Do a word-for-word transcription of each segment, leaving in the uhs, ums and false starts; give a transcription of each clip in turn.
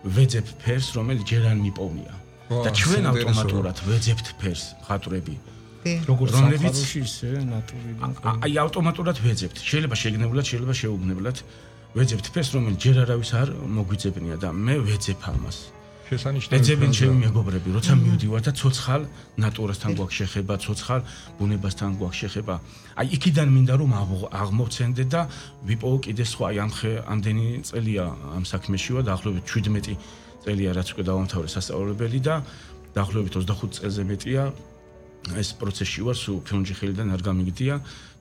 ვეძებ ფერს, რომელიც ჯერ არ მიპოვნია. და ჩვენ ავტომატურად ვეძებთ ფერს, მხატვრები. როგორც სამყაროში ისე ნატურიდან. აი ავტომატურად ვეძებთ. შეიძლება შეგნებულად, შეიძლება შეუგნებლად ვეძებთ ფერს, რომელიც ჯერ არავის არ მოგვიძებნია და მე ვეძებ ამას. შესანიშნავი. ეძებენ ჩემი მეგობრები, როცა მივდივარ და ცოცხალ ნატურასთან გვაქვს შეხება, ცოცხალ ბუნებასთან გვაქვს შეხება. აი იქიდან მინდა რომ აღმოვცენდე და ვიპოვო კიდე სხვა, აი ამხე ამდენი წელია ამ საქმეში ვარ, დაახლოებით შვიდმეტი წელია რაც უკვე დავამთავრე სასწავლებელი და დაახლოებით ოცდახუთ წელზე მეტია ეს პროცესში ვარ, სულ ფილმში ხელიდან არ გამიგდია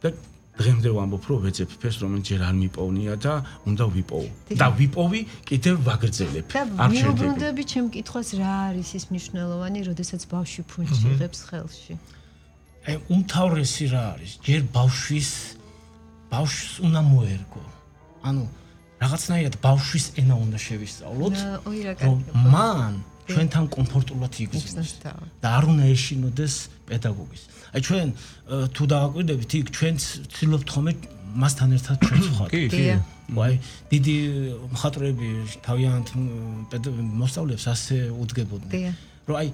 და დღემდე ვამბობ, რომ ვეძებ ფერს, რომელიც ჯერ არ მიპოვნია და უნდა ვიპოვო. და ვიპოვი, კიდევ ვაგრძელებ. არ მიუბრუნდები ჩემ კითხვას, რა არის ის მნიშვნელოვანი, როდესაც ბავშვი ფუნჩი იღებს ხელში? აი, უმთავრესი რა არის? ჯერ ბავშვის ბავშვს უნდა მოერგო. ანუ რაღაცნაირად ბავშვის ენა უნდა შევისწავლოთ, რომ მან ჩვენთან კომფორტულად იგრძნოს და არ უნდა ეშინოდეს პედაგოგის. აი ჩვენ თუ დააკვირდებით, იქ ჩვენ ცდილობთ ხოლმე მასთან ერთად ჩვენც ვხართ. კი, კი. აი დიდი მხატვრები თავიანთ მოსწავლეებს ასე უდგებოდნენ, რომ აი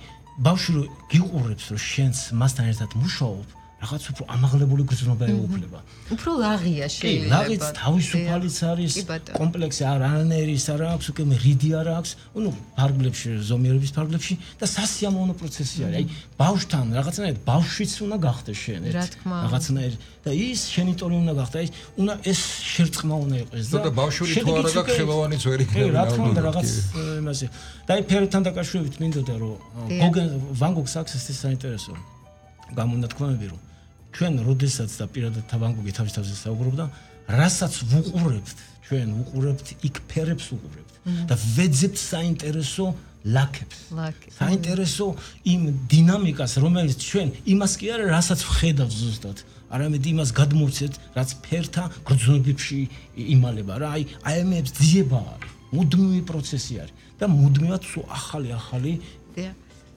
ბავშვი რო გიყურებს, რომ შენც მასთან ერთად მუშაობ, რაღაც უფრო ამაღლებული გრძნობა ეუფლება. უფრო ლაღია შეიძლება. ლაღიც თავისუფალიც არის, კომპლექსი არ არანაირის არ აქვს, უკვე რიდი არ აქვს, ну, ფარგლებში, ზომიერების ფარგლებში და სასიამოვნო პროცესი არის. აი, ბავშვთან რაღაცნაირად ბავშვიც უნდა გახდეს შენ ერთ. რაღაცნაირად და ის შენი ტოლი უნდა გახდეს. აი, უნდა ეს შერწყმა უნდა იყოს და და ბავშვი თუ არა გაქვს ხელოვანიც ვერ იქნება. რა თქმა უნდა, რაღაც იმასე. და აი, ფერთან დაკავშირებით მინდოდა რომ გოგენ ვან გოგს აქვს ეს საინტერესო გამონათქვამები რომ ჩვენ როდესაც და პირადად ვან გოგი თავის თავზე საუბრობდა, რასაც ვუყურებთ, ჩვენ ვუყურებთ იქ ფერებს ვუყურებთ და ვეძებთ საინტერესო ლაქებს. საინტერესო იმ დინამიკას, რომელიც ჩვენ იმას კი არა, რასაც ვხედავთ ზუსტად, არამედ იმას გადმოვცეთ, რაც ფერთა გრძნობებში იმალება რა. აი, აი ამებს ძიება არის, მუდმივი პროცესი არის და მუდმივად სულ ახალი-ახალი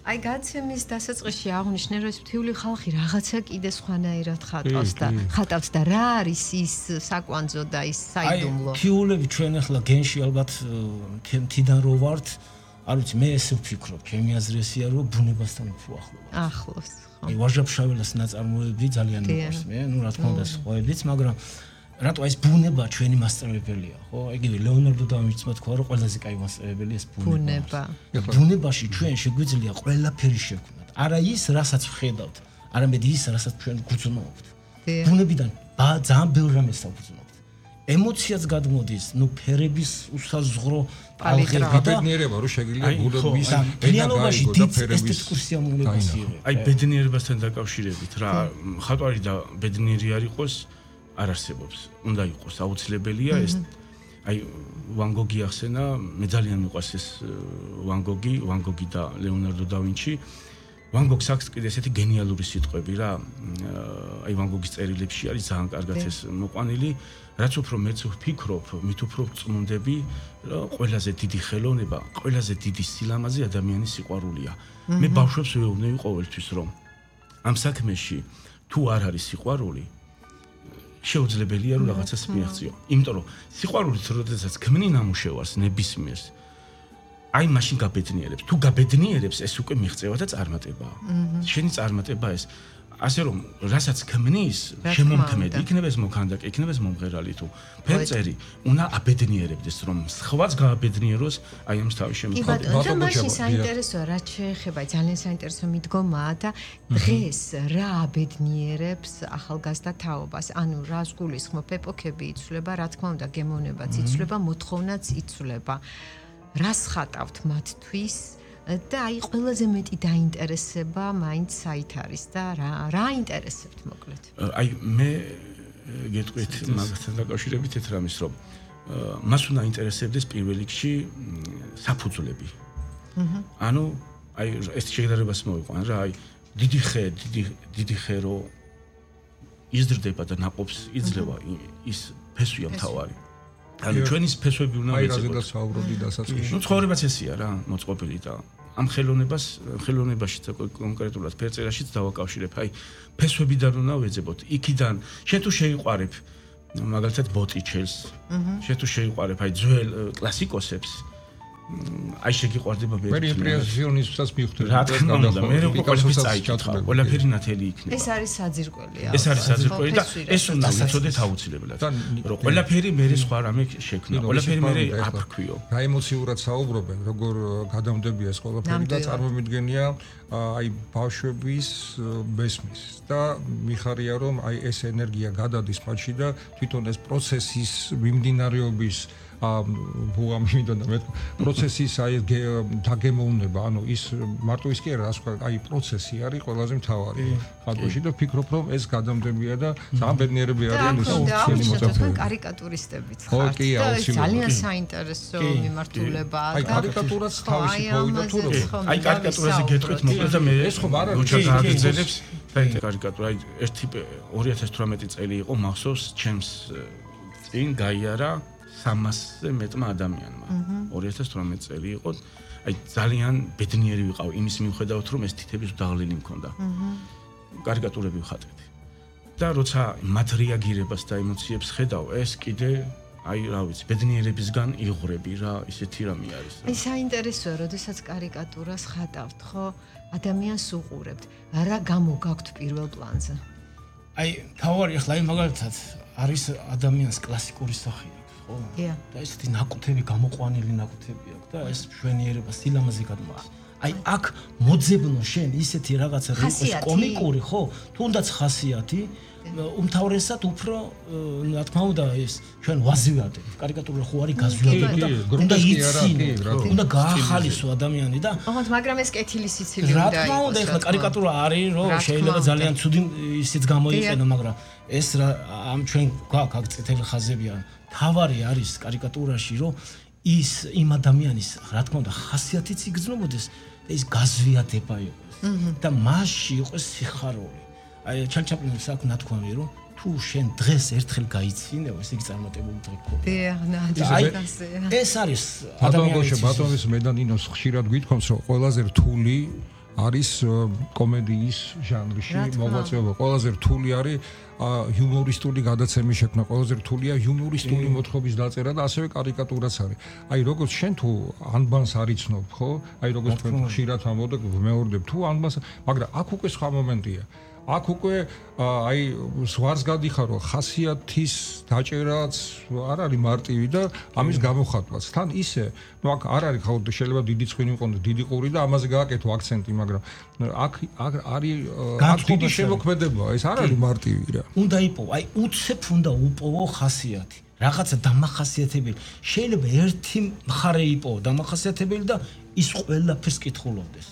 აი გაცემის დასაწყისში აღნიშნე რომ ეს მთიული ხალხი რაღაცა კიდე სხვანაირად ხატავს და ხატავს და რა არის ის საკვანძო და ის საიდუმლო. აი მთიულები ჩვენ ახლა გენში ალბათ თიდან რო ვართ, არ ვიცი მე ესე ვფიქრობ, ჩემი აზრი ესეა რომ ბუნებასთან უფრო ახლოს. ახლოს. აი ვაჟა-ფშაველას ნაწარმოები ძალიან მიყვარს მე, ну რა თქმა უნდა სხვაებიც, მაგრამ რატო ეს ბუნება ჩვენი მასწავლებელია, ხო? იგივე ლეონარდო და ვინჩმა თქვა, რომ ყველაზე კაი მასწავლებელი ეს ბუნება. ბუნებაში ჩვენ შეგვიძლია ყველაფერი შევქმნათ. არა ის, რასაც ვხედავთ, არამედ ის, რასაც ჩვენ გრძნობთ. ბუნებიდან ძალიან ბევრ რამეს ვგრძნობთ. ემოციაც გადმოდის, ну ფერების უსაზღრო პალეტრა და ბედნიერება რომ შეგიძლია ბუნების ფერებაში დიდ ესთეტიკურ სიამოვნებას იღებს. აი ბედნიერებასთან დაკავშირებით რა, ხატვარი და ბედნიერი არ იყოს არ არსებობს. უნდა იყოს აუცილებელია ეს. აი ვან გოგი ახსენა, მე ძალიან მიყვარს ეს ვან გოგი, ვან გოგი და ლეონარდო და ვინჩი. ვან გოგს აქვს კიდე ესეთი გენიალური სიტყვები რა. აი ვან გოგის წერილებში არის ძალიან კარგად ეს მოყვანილი. რაც უფრო მეც ვფიქრობ, მით უფრო წმუნდები, რომ ყველაზე დიდი ხელოვნება, ყველაზე დიდი სილამაზე ადამიანის სიყვარულია. მე ბავშვებს ვეუბნები ყოველთვის რომ ამ საქმეში თუ არ არის სიყვარული შეუძლებელია რომ რაღაცას მიაღწიო. იმიტომ რომ სიყვარულით როდესაც ქმნი ნამუშევარს ნებისმიერს, აი მაშინ გაბედნიერებს. თუ გაბედნიერებს, ეს უკვე მიღწევა და წარმატებაა. შენი წარმატება ეს ასე რომ რასაც ქმნის, შემომქმედი, იქნება ეს მოქანდაკე, იქნება ეს მომღერალი თუ ფერწერი, უნდა აბედნიერებდეს რომ სხვაც გააბედნიეროს აი ამ თავის შემოქმედება. კი ბატონო, მაშინ საინტერესოა რა შეეხება, ძალიან საინტერესო მიდგომაა და დღეს რა აბედნიერებს ახალგაზრდა თაობას. ანუ რას გულისხმობ, ეპოქები იცვლება, რა თქმა უნდა, გემოვნებაც იცვლება, მოთხოვნაც იცვლება. რას ხატავთ მათთვის? და აი ყველაზე მეტი დაინტერესება მაინც საით არის და რა რა ინტერესებთ მოკლედ? აი მე გეტყვით მაგასთან დაკავშირებით ერთ რამის რომ მას უნდა ინტერესებდეს პირველ რიგში საფუძვლები. ანუ აი ეს შეგდარებას მოვიყვან რა აი დიდი ხე დიდი დიდი ხე რო იზრდება და ნაყოფს იძლევა ის ფესვია მთავარი. ანუ ჩვენი ფესვები უნდა ვეძებოთ. აი რაზე დასაუბრობდი დასაწყისში. ნუ ცხოვრებაც ესეა რა, მოწყობილი და ამ ხელოვნებას ხელოვნებაშიც კონკრეტულად ფერწერაშიც დავაკავშირებ. აი ფესვებიდან უნდა ვეძებოთ. იქიდან შენ თუ შეიყვარებ მაგალითად ბოტიჩელს, შენ თუ შეიყვარებ აი ძველ კლასიკოსებს, აი შეგიყვარდება მე იმპრესიონისტსაც მივხვდი რა თქმა უნდა მე ყველაფერი წაიკითხა ყველაფერი ნათელი იქნება ეს არის საძირკველი ეს არის საძირკველი და ეს უნდა ვიცოდეთ აუცილებლად რომ ყველაფერი მე სხვა რამე შექმნა ყველაფერი მე აფრქვიო რა ემოციურად საუბრობენ როგორ გადამდებია ეს ყველაფერი და წარმომიდგენია აი ბავშვების მესმის და მიხარია რომ აი ეს ენერგია გადადის მათში და თვითონ ეს პროცესის მიმდინარეობის ბუღა მინდოდა მე პროცესის აი დაგემოვნება ანუ ის მარტო ის კი არა რა აი პროცესი არის ყველაზე მთავარი ხალხში და ფიქრობ რომ ეს გადამდებია და ძალიან ბედნიერები არიან ეს ჩვენი მოწაფეები კარიკატურისტებიც ხართ და ძალიან საინტერესო მიმართულებაა აი კარიკატურაც თავისი პოვიდა თუ რომ აი კარიკატურაზე გეტყვით მოკლედ და მე ეს ხო არა როცა გააგრძელებს და კარიკატურა აი ერთი ორი ათას თვრამეტი წელი იყო მახსოვს ჩემს წინ გაიარა სამასზე მეტმა ადამიანმა ორი ათას თვრამეტი წელი იყო აი ძალიან ბედნიერი ვიყავ იმის მიუხედავად რომ ეს თითების დაღლილი მქონდა კარიკატურები ვხატეთ და როცა მათ რეაგირებას და ემოციებს ხედავ ეს კიდე აი რა ვიცი ბედნიერებისგან იღვრები რა ისეთი რამე არის აი საინტერესოა როდესაც კარიკატურას ხატავთ ხო ადამიანს უყურებთ რა გამოგაქვთ პირველ პლანზე აი თავარი ახლა აი მაგალითად არის ადამიანს კლასიკური სახე ხო? და ესეთი ნაკუთები გამოყვანილი ნაკუთები აქვს და ეს მშვენიერება სილამაზე გადმოა. აი აქ მოძებნო შენ ისეთი რაღაცა რო იყოს კომიკური ხო? თუნდაც ხასიათი უმთავრესად უფრო რა თქმა უნდა ეს ჩვენ ვაზივადეთ. კარიკატურა ხო არის გაზვიადები და უნდა იცინო, უნდა გაახალისო ადამიანი და ოღონდ მაგრამ ეს კეთილი სიცილი უნდა იყოს. რა თქმა უნდა ეხლა კარიკატურა არის რომ შეიძლება ძალიან ცუდი ისიც გამოიყენო, მაგრამ ეს რა ამ ჩვენ გვაქვს აქ წითელი ხაზებია. თავარი არის კარიკატურაში რომ ის იმ ადამიანის რა თქმა უნდა ხასიათიც იგრძნობოდეს და ის გაზვიადება იყოს და მასში იყოს სიხარული. აი ჩალჩაპლინის აქვს ნათქვამი რომ თუ შენ დღეს ერთხელ გაიცინო ეს იგი წარმატებული დღე გქონდა. ეს არის ადამიანის ბატონის მედანინოს ხშირად გვითხოვს რომ ყველაზე რთული არის კომედიის ჟანრში მოღვაწეობა. ყველაზე რთული არის ჰიუმორისტული გადაცემის შექმნა, ყველაზე რთულია ჰიუმორისტული მოთხრობის დაწერა და ასევე კარიკატურაც არის. აი როგორც შენ თუ ანბანს არიცნობ, ხო? აი როგორც თქვენ ხშირად ამბობთ, ვმეორდებ თუ ანბანს, მაგრამ აქ უკვე სხვა მომენტია. აქ უკვე აი ზღვარს გადიხარ რომ ხასიათის დაჭერაც არ არის მარტივი და ამის გამოხატვაც. თან ისე, ნუ აქ არ არის ხაუდ შეიძლება დიდი ცხენი მიყონდეს, დიდი ყური და ამაზე გააკეთო აქცენტი, მაგრამ აქ არის აქ დიდი შემოქმედებაა, ეს არ არის მარტივი რა. უნდა იპოვო, აი უცებ უნდა უპოვო ხასიათი. რაღაცა დამახასიათებელი. შეიძლება ერთი მხარე იპოვო დამახასიათებელი და ის ყველაფერს კითხულობდეს.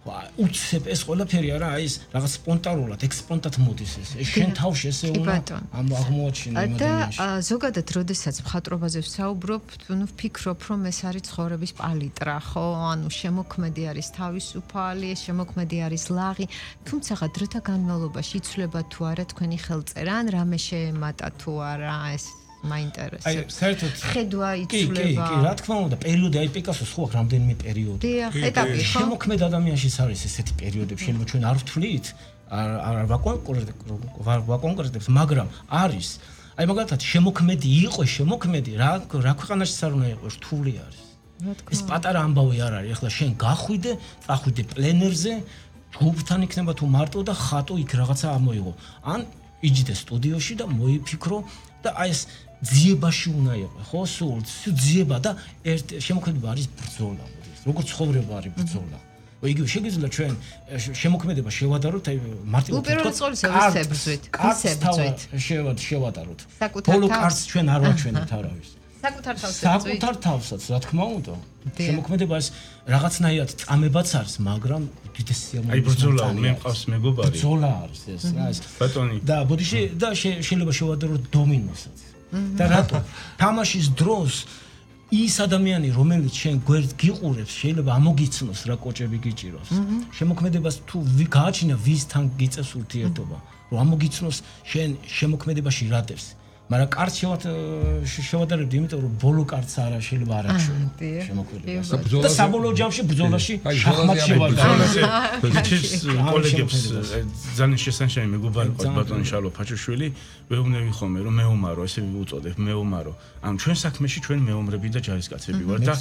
უცებ ეს ყველაფერი არა აი ეს რაღაც სპონტანურად ექსპონტად მოდის ეს შენ თავში ესე უნდა ამ აღმოაჩინო იმ ადამიანში და ზოგადად როდესაც მხატვრობაზე ვსაუბრობ ნუ ვფიქრობ რომ ეს არის ცხოვრების პალიტრა ხო ანუ შემოქმედი არის თავისუფალი შემოქმედი არის ლაღი თუმცა დროთა განმავლობაში იცვლება თუ არა თქვენი ხელწერა ან რამე შეემატა თუ არა ეს მაინტერესებს. აი, საერთოდ ხედვა იცვლება. კი, კი, რა თქმა უნდა, პერიოდი აი პიკასოს ხო აქვს რამდენიმე პერიოდი. დიახ, ეტაპი ხო? შემოქმედ ადამიანშიც არის ესეთი პერიოდები, შეიძლება ჩვენ არ ვთვლით, არ არ ვაკონკრეტებს, მაგრამ არის. აი მაგალითად, შემოქმედი იყო, შემოქმედი, რა რა ქვეყანაშიც არ უნდა იყოს, რთული არის. ეს პატარა ამბავი არ არის. ახლა შენ გახვიდე, წახვიდე პლენერზე, ჯგუფთან იქნება თუ მარტო და ხატო იქ რაღაცა ამოიღო. ან იჯდე სტუდიოში და მოიფიქრო და აი ეს ძიებაში უნდა იყოს, ხო, სულ ძიება და ერთ შემოქმედება არის ბრძოლა, მოდის. როგორც ცხოვრება არის ბრძოლა. იგივე შეგვიძლია ჩვენ შემოქმედება შევადაროთ, აი მარტივად უპირველეს ყოვლისა ვისებრძვით, ვისებრძვით. შევად შევადაროთ. ბოლო კარს ჩვენ არ ვაჩვენებთ არავის. საკუთარ თავს საკუთარ თავსაც, რა თქმა უნდა. შემოქმედება ეს რაღაცნაირად წამებაც არის, მაგრამ უდიდესი სიამოვნებაა. აი ბრძოლა მე მყავს მეგობარი. ბრძოლა არის ეს, რა ეს. ბატონი. და ბოდიში და შეიძლება შევადაროთ დომინოსაც. და რატო? თამაშის დროს ის ადამიანი, რომელიც შენ გვერდ გიყურებს, შეიძლება ამოგიცნოს რა კოჭები გიჭიროს. შემოქმედებას თუ გააჩინა ვისთან გიწევს ურთიერთობა, რომ ამოგიცნოს შენ შემოქმედებაში რა დევს. მაგრამ კარც შევადარებდი, იმიტომ რომ ბოლო კარც არა შეიძლება არ აჩვენო შემოქმედებას. და საბოლოო ჯამში ბრძოლაში შახმატ შევადარებდი. ბიჭის კოლეგებს ძალიან შესანიშნავი მეგობარი ყავს ბატონი შალო ფაჩოშვილი, ვეუბნები ხოლმე რომ მეომარო, ესე ვუწოდებ მეომარო. ამ ჩვენ საქმეში ჩვენ მეომრები და ჯარისკაცები ვართ და